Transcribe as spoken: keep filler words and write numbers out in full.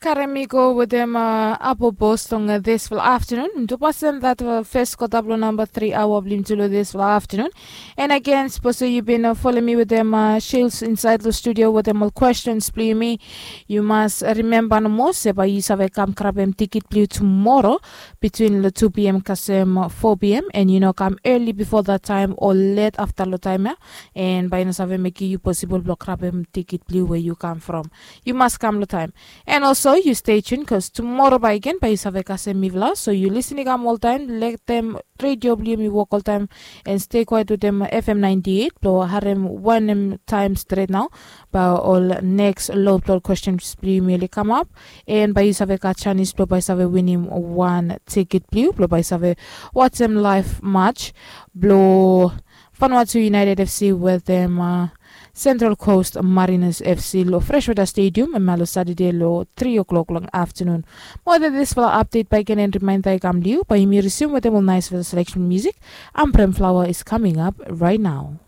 Karem i go wetem apobos long disfala aftanun. Dupasen dat fes kota blong namba tri aoa blong yumi tu long disfala aftanun. And agen sapos yu bin folem mi wetem shils insaed long studio wetem ol kwestens blong yumi, yu mas rimemba nomo se bae yu save kam krabem tikit blong yu tumoro bitwin long tu pm kasem fo pm, and yu no kam eli bifo dat taem o let afta long taem ya, and bae i no save mekem yu posibol blong krabem tikit blong yu we yu kam from. Yu mas kam long taem. And also yu stay tun bikos tumoro bae gen bae yu save kasem mifala, so yu lisin i kam oltaem, letem redio blong yumi wok oltaem, and stay kwaet wetem fm ninety eight blong harem wanem taem stret nao bae ol neks lod blong ol kwestens blong yumi oli kamap, and bae yu save gat janis blong bae save winim wan tikit blong yu blong bae save wajem laef mats blong Vanuatu United FC wetem Central Coast Mariners FC long Freshwater Stadium, hemia long Satade long tri o'clock long aftanun. Mo wetem disfala apdet bae i ken en rimaenda i kam long yu bae yumi risium wetem ol naesfala seleksen musik. Ambrem Flower is coming up right now.